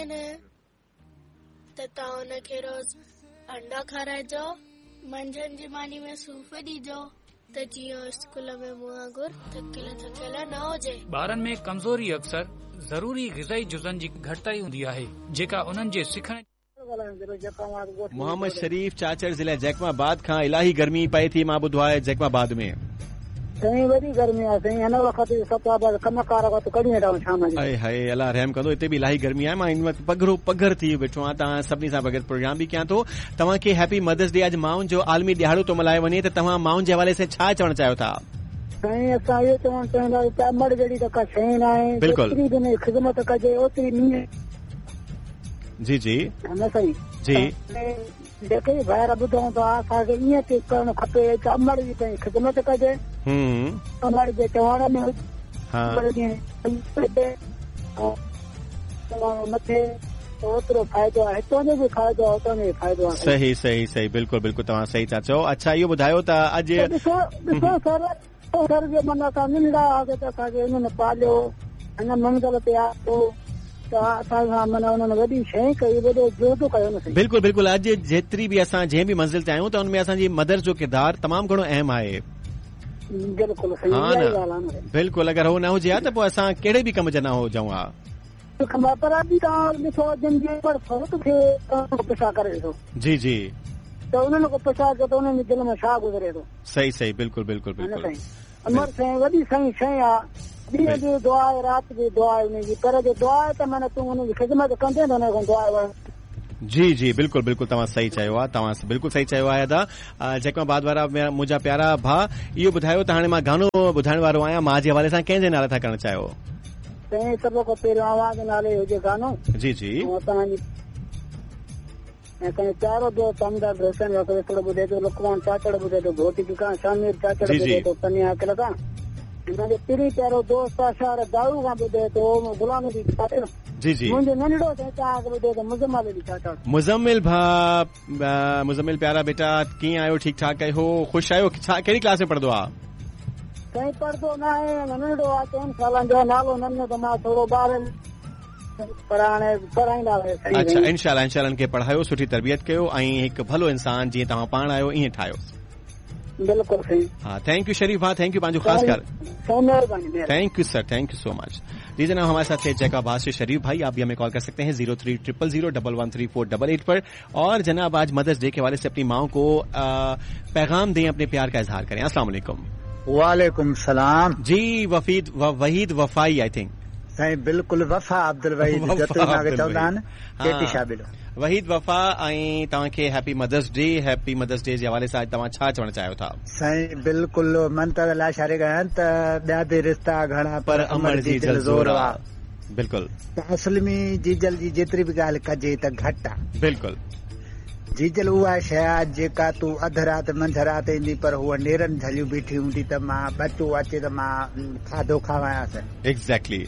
آهن ته توهان ان کي روز انڊا کارائجو، منجهند جي ماني ۾ صوف ڏجو ته جيئن هو اسڪول ۾ مون وانگر ٿڪيل ٿڪيل نه هجي. ٻارن ۾ ڪمزوري اڪثر ضروري غذائي جزن جي گهٽتائي هوندي آهي، جيڪا انهن جي سکڻ. محمد شريف چاچڙ ضلع جيڪب آباد کان الاهي گرمي پئي ٿي مان ٻڌو آهي جيڪب آباد ۾. سائين وڏي گرمي آهي سائين هن وقت سڀ ڪم ڪار وقت ڪڍي ويٺا آهيون شام جو. اي هاء الله رحم ڪندو هتي به الاهي گرمي آهي مان هن وقت پگهرو پگهر ٿي ويٺو آهيان توهان سڀني سان گڏ پروگرام به ڪيان ٿو توهان کي هيپي مدرس ڊي اڄ مائن جو عالمي ڏهاڙو ٿو ملهايو وڃي ته توهان مائن جي حوالي سان ڇا چوڻ چاهيو ٿا. سائين اسان اهو چوڻ چاهينداسين ته امڙ جهڙي ته ڪا شيء ناهي بلڪل. جيتري به ان جي خدمت ڪجي اوتري نينهن. جي جي نه سائين جي جيڪي به ڀائر ٻڌون ٿا اسان کي ائين ٿي ڪرڻ کپي ته امڙ جي پنهنجي خدمت ڪجي امڙ جي چوڻ ۾ ها نه ٿئي ته اوترو فائدو آهي هتان جو به فائدو آهي هتان جو به فائدو آهي صحيح صحيح صحيح بلڪل بلڪل توهان صحيح ٿا چئو اڇا اهو ٻڌايو ته اڄ ڏسو ڏسو سر سر جي معنيٰ اسان ننڍڙا هئاسين ته اسان کي انهن پاليو، هن منزل تي آندو ته اسان سان معنيٰ انهن وڏي شيء ڪئي، وڏو جهد ڪيو نه سهي. بلڪل بلڪل اڄ جيتري به اسان جنهن به منزل تي آهيون ته ان ۾ اسان جي مدرس جو ڪردار تمام گهڻو اهم آهي. بلڪل صحيح ها اها نه ئي ڳالهه آهي نه سائين. بلڪل اگر هو نه هجي ها ته پوء اسان ڪهڙي به ڪم جا نه هجون ها. پر اڄ توهان ڏسو جن جي امڙ فوت ٿئي انهن کان پڇا ڪري ڏسو. جي جي. ته انهن کان پڇا ڪيو ته انهن جي دل ۾ ڇا گذري ٿو. صحيح صحيح بلڪل بلڪل ها نه بلڪل سائين امڙ سائين وڏي سائين شيء آ ڏينهن به دعا آهي رات به دعا آهي ان جي پر جي دعا آهي ته معنيٰ تون ان جي خدمت ڪندين ته ان کان دعا وٺ. جي جي بلڪل بلڪل توهان صحيح چيو آ توهان بلڪل صحيح چيو آهي ادا جيڪب آباد وارا منهنجا پيارا ڀاء اهو ٻڌايو ته هاڻي مان گانو ٻڌائڻ وارو آهيان ماء جي حوالي سان ڪنهن جي نالي ٿا ڪرڻ چاهيو. سائين سڀ کان پهريون اوهان جي نالي هجي گانو جي جي ۽ توهان جي ۽ سائين پيارو دوست همدرد حسين بخش وسطڙو ٻڌي ٿو، لقمان چاچڙ ٻڌي ٿو، گهوٽڪي کان شامير چاچڙ جي ٻڌي جي. ٿو، پني عاقل کان منهنجو پرين پيارو دوست اشار دائو کان ٻڌي ٿو، غلام نبي چاچڙ جي جي. منهنجو ننڍڙو سائين توهان کي ٻڌي ٿو، مزمل علي چاچڙ. مزمل ڀاء مزمل پيارا بيٽا ڪيئن آهيو ٺيڪ ٺاڪ آهيو خوش آهيو ڇا ڪهڙي ڪلاس ۾ پڙهندو آ. سائين پڙهندو ناهي اڃا ننڍڙو آ چئن سالن جو نالو نه ڏنو ته مان ٿورو ٻار پر هاڻي پڙهائيندا سائين. اڇا انشاء الله انشاء الله ان کي پڙهايو سٺي تربيت ڪيو ۽ هڪ ڀلو انسان جيئن توهان پاڻ آهيو ائين ٺاهيوس. بلڪل سائين. ها thank you شريف ڀاء thank you پنهنجو خاص خيال. سائين مهرباني مهرباني. Thank you sir thank you so much. جي جناب هماري ساٿ ٿي جيڪب آباد سي شريف ڀائي آپ ڀي همين ڪال ڪر سڪتي هين 0300011348 پر اور جناب آج مدرس ڊي ڪي حوالي سي اپني مائون ڪو پيغام دين اپني پيار ڪا اظهار ڪرين السلام عليڪم. وعليڪم السلام. جي وفيد وحيد وفائي I think. سائين بلڪل وفا عبدالوحيد جتوئي مان کي چوندا آهن ڪيٽي شابلو. وحيد وفا ۽ توهان کي happy mother's day happy mother's day جي حوالي سان اڄ توهان ڇا چوڻ چاهيو ٿا. سائين بلڪل منتظر لاشاري ڳايان ته ٻيا به رشتا گهڻا پر امڙ جيجل زور آ. بلڪل. ته اصل ۾ جيجل جي جيتري به ڳالهه ڪجي ته گهٽ آ. بلڪل. جيجل اها شيء آ جيڪا تون اڌ رات منجهه رات ايندين پر هوء نيرن جهليون بيٺي هوندي ته مان ٻچو اچي ته مان کاڌو کاوايانس. Exactly.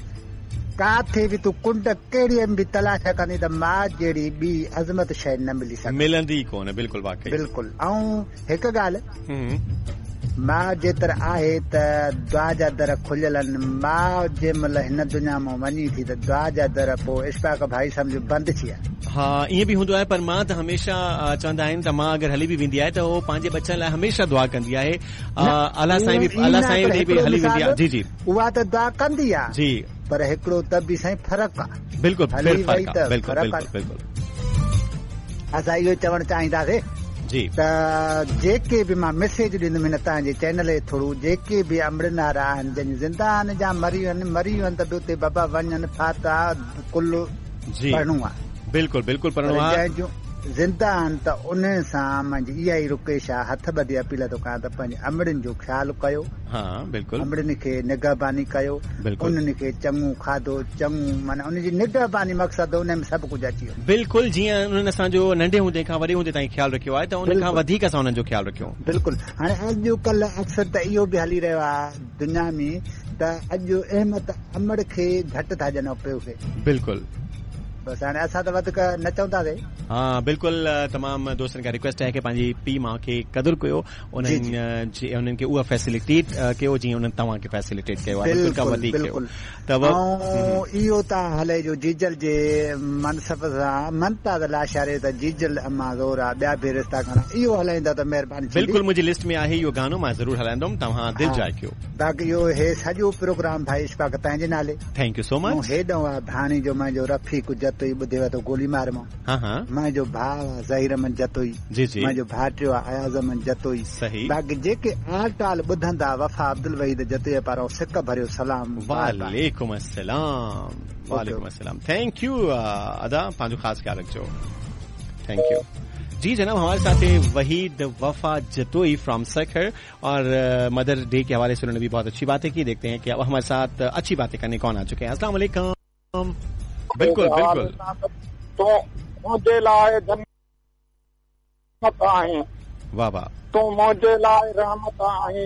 ڪاٿي به تون ڪنڊ ڪهڙيء ۾ به تلاش ڪندين ته ماء جهڙي ٻي عظمت شيء نه ملي سگهندي. ملندي ئي ڪونه بلڪل واقعي. بلڪل ۽ هڪ ڳالهه. ماء جيتر آهي ته دعا جا در کليل آهن. ماء جنهن مهل هن دنيا مان وڃي ٿي ته دعا جا در پوء اشفاق ڀائي سمجهه بند ٿي ويا. ها ائين به هوندو آهي پر ماء ته هميشه چوندا آهن ته ماء اگر هلي به ويندي آهي ته هو پنهنجي ٻچن لاء هميشه دعا ڪندي آهي الله سائين به الله سائين ڏي به هلي ويندي آهي جي جي. اها ته دعا ڪندي آهي جي پر هڪڙو ته به سائين فرق آهي. بلڪل هلي وئي ته بلڪل بلڪل بلڪل. اسان اهو چوڻ چاهينداسين جي ته جيڪي به مان ميسيج ڏيندم هن توهان جي چينل جي ٿرو جيڪي به امڙين وارا آهن جن زنده آهن يا مري ويا آهن مري ويا آهن ته به اتي بابا وڃن فاتحه قل جي پڙهڻو آهي بلڪل بلڪل پر پڙهڻو آهي جنهن جون زنده آهن ته انهن سان منهنجي اها ئي رڪويسٽ آهي هٿ ٻڌي اپيل ٿو ڪيان ته پنهنجي امڙين جو خيال ڪيو ها بلڪل. امڙين کي نگهباني ڪيو بلڪل. انهن کي چڱو کاڌو چڱو معنيٰ ان جي نگهباني مقصد ان ۾ سڀ ڪجهه اچي ويو. بلڪل جيئن انهن اسان جو ننڍي هوندي کان وڏي هوندي تائين خيال رکيو آهي ته ان کان بلڪل. وڌيڪ اسان انهن جو خيال رکيون. بلڪل هاڻي اڄ ڪلهه اڪثر ته اهو به هلي رهيو آهي دنيا ۾ ته اڄ اهميت امڙ کي گهٽ ٿا ڏين پيء کي. بلڪل. بس هاڻي اسان ته وڌيڪ نه چونداسين. ها بلڪل تمام دوستن کان ريڪويسٽ آهي ڪي پنهنجي پيء ماء کي قدر ڪيو انهن جي انهن کي اها فيسلٽيٽ ڪيو جيئن انهن توهان کي فيسلٽيٽ ڪيو آهي بلڪل کان وڌيڪ ڪيو ته اهو توهان هلائجو جيجل جي منصب سان ممتاز لاشاري ته جيجل امان زور آ ٻيا به رشتا گهڻا اهو هلائيندا ته مهرباني ٿيندي. بلڪل منهنجي لسٽ ۾ آهي اهو گانو مان ضرور هلائيندم توهان دل جاء ڪيو. باقي اهو هي سڄو پروگرام ڀائي اشفاق تنهنجي جي نالي. Thank you سو مچ. مون هيڏئون آ ڀاڻيجو منهنجو رفيق جتوئي ٻڌي وتو گولي مار مون. ها ها. منهنجو ڀاء آ ظهير احمد جتوئي. جي جي. منهنجو ڀائٽيو آ اياز احمد جتوئي. صحيح. باقي جيڪي آل ٽال ٻڌندا وفا عبدالوحيد جتوئي پاران سڪ ڀريو سلام. وعليڪم السلام وعليڪم السلام thank you ادا پنهنجو خاص خيال رکجو thank you जी जनाब हमारे साथ है वहीद वफा जतोई फ्रॉम सखर और मदर डे के हवाले से उन्होंने भी बहुत अच्छी बातें की। देखते हैं कि अब हमारे साथ अच्छी बातें करने कौन आ चुके हैं। अस्सलाम वालेकुम। बिल्कुल बिल्कुल। तूं मुंहिंजे लाइ जन्नत आहीं। वाह वाह। तूं मुंहिंजे लाइ रहमत आहीं।